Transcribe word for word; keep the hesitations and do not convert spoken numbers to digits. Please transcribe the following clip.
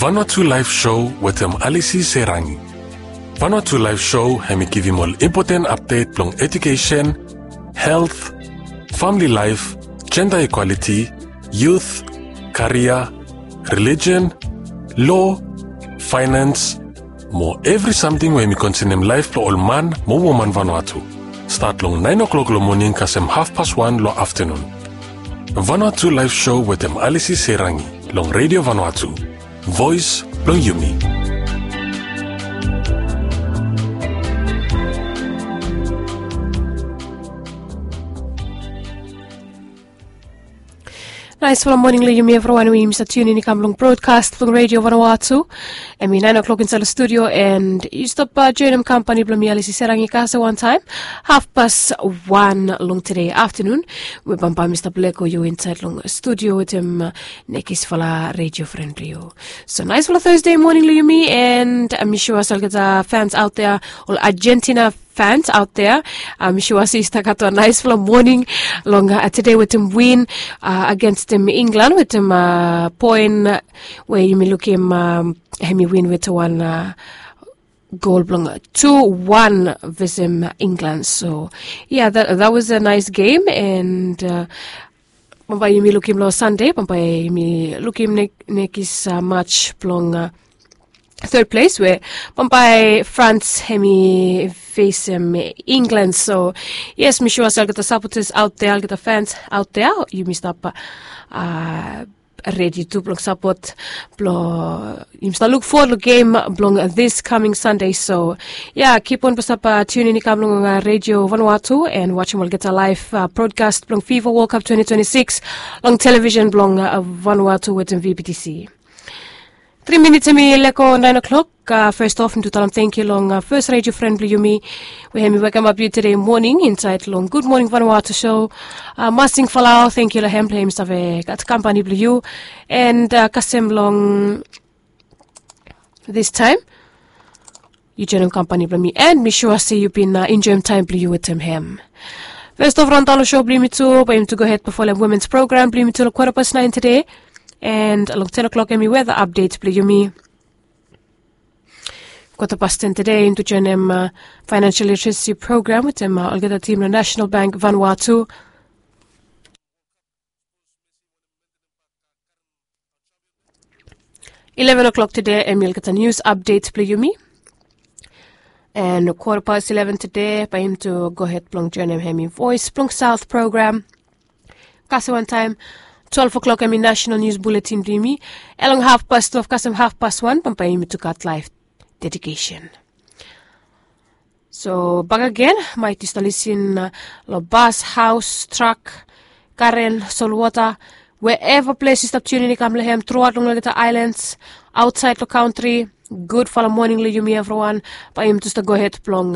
Vanuatu Live Show wetem Alisi Serangi. Vanuatu Live Show hem i givim ol impoten apdet blong edukesen, helt, famili laef, jenda ikwaliti, yut, karia, relijen, lo, faenans, mo evri samting we hem i konsenem laef blong ol man mo woman Vanuatu. Stat long naen o'klok long moning kasem hafpas wan long aftanun. Vanuatu Live Show wetem Alisi Serangi long Redio Vanuatu, voes blong yumi. Naesfala moning long yumi evriwan we yumi save tiunin i kam long brodkas blong Redio Vanuatu. Hem i naen o'klok insaed long studio, and yu stap joenem kampani blong mi, Alisi Serangi, kasem wantaem hafpas wan long tede aftanun, we bambae mi stap lego yu insaed long studio wetem nekisfala redio fren blong yu. So naesfala Thursday moning long yumi, and mi sua se olgeta fans aot dea, ol Argentina fans aot dea, mi sua se yu stap gat wan naesfala moning long tede wetem win agensem Inglan wetem poen we yumi lukim hem i win wetem wan gol blong tu wan vesem Inglan. So yeah, that was a nice game, and bambae yumi lukim long Sande, bambae yumi lukim nekis mats blong third place we bambae France hem i fesem Inglan. So yes, mi sua se olgeta sapotas aot dea, olgeta fans aot dea, yumi stap redi tu blong sapot, blong yumi stap luk fowod long gem blong this coming Sunday. So yeah, kip on blong stap tiunin i kam long Redio Vanuatu and wajem olgeta laef brodkas blong FIFA World Cup twenty twenty-six long televisen blong Vanuatu wetem VBTC. Tri minits hem i lego naen o'klok. Fes of mi tu talem tangkiu long fes redio fren blong yumi we hem i wekemap yu tede moning insaed long Gud Moning Vanuatu show. Masing Falau, tangkiu long hem blong hem i save gat kampani blong yu. And kasem long this taem, yu joenem kampani blong mi, and mi sua se yu bin enjoem taem blong yu wetem hem. Fes of raon daon long show blong yumi tu, bae yumi tu gohed blong folem womens program blong yumi tu long kwota pas naen tede. And long ten o'klok hem i weta apdet blong yumi. Kwota pas ten tede yumi tu joenem financial literacy program wetem olgeta tim long National Bank Vanuatu. Eleven o'klok tede hem i olgeta nius apdet blong yumi. And kwota pas eleven tede bae yumi tu gohed blong joenem hem i Voes blong Saot program. Kasem wantaem twelve o'klok hem i nasenal nius buletin blong yumi. And long hafpas twelve kasem hafpas wan bambae yumi tu gat laef dedikesen. So bakegen, maet yu stap lisin long bas, haos, trak, garen, solwota, weeva ples yu stap tiunin i kam long hem truaot long olgeta aelans aotsaed long kantri. Gudfala moning long yumi evriwan. Bae yumi tu stap gohed blong